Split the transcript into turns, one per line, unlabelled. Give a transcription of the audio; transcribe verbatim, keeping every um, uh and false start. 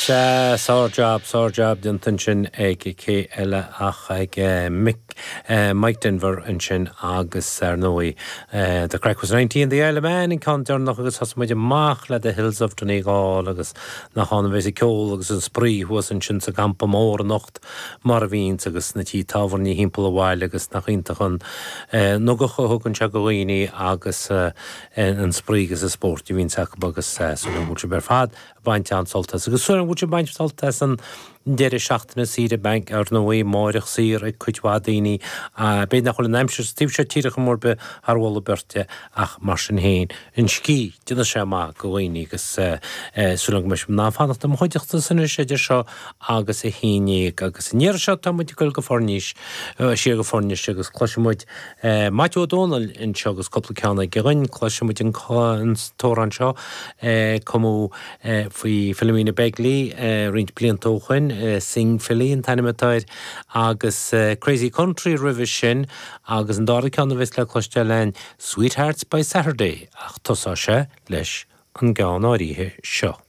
Sea, sár-jab, sár-jab déanta ansin ag cé eile ach ag Mick, Mike Denver ansin agus ar ndóigh The Craic Was Ninety in the Isle of Man an ceann deireanach agus thosaigh muid amach le The Hills of Donegal agus nach ann a bheas an ceol agus an spraoi thuas ansin sa gcampa mór anocht mar a bhíonns agus na tithe tábhairne thimpeall an bhaile agus nach iontach an ugach a thugann sé do dhaoine agus an spraoi agus an spórt a bhíonns acu agus súil agam go bhfuil sibh ar fad ag baint an-sult as. Agus súil agam go bhfuil sibh ag baint sult as an deireadh seachtaine saoire beidh ar ndóigh amáireach saor ag cuid mhaith daoine. B'fhéidir nach bhfuil an aimsir sa taobh seo tíre chomh mór bith thar mholadh beirte ach mar sin féin, an scíth, déanfaidh sé maith do dhaoine agus súil agam go mbeidh sibh in ann fanacht i mo chuideachta anois idir seo agus a haon déag. Agus an iarraidh seo tá muid ag dul go Foirnis, siar go Foirnis agus cloisfidh muid Maitiú Ó Dónaill anseo agus cúpla ceann aige dhúinn. Cloisfidh muid an t-amhrán seo, cumadh faoi Philomena Begley roinnt blianta ó shoin, Sing Philly an t-ainm atá air, agus Crazy Country roimhe sin, agus an dara ceann a bheas le cloisteáil againn, Sweethearts by Saturday, ach tosóidh sé leis an gceann áirithe seo.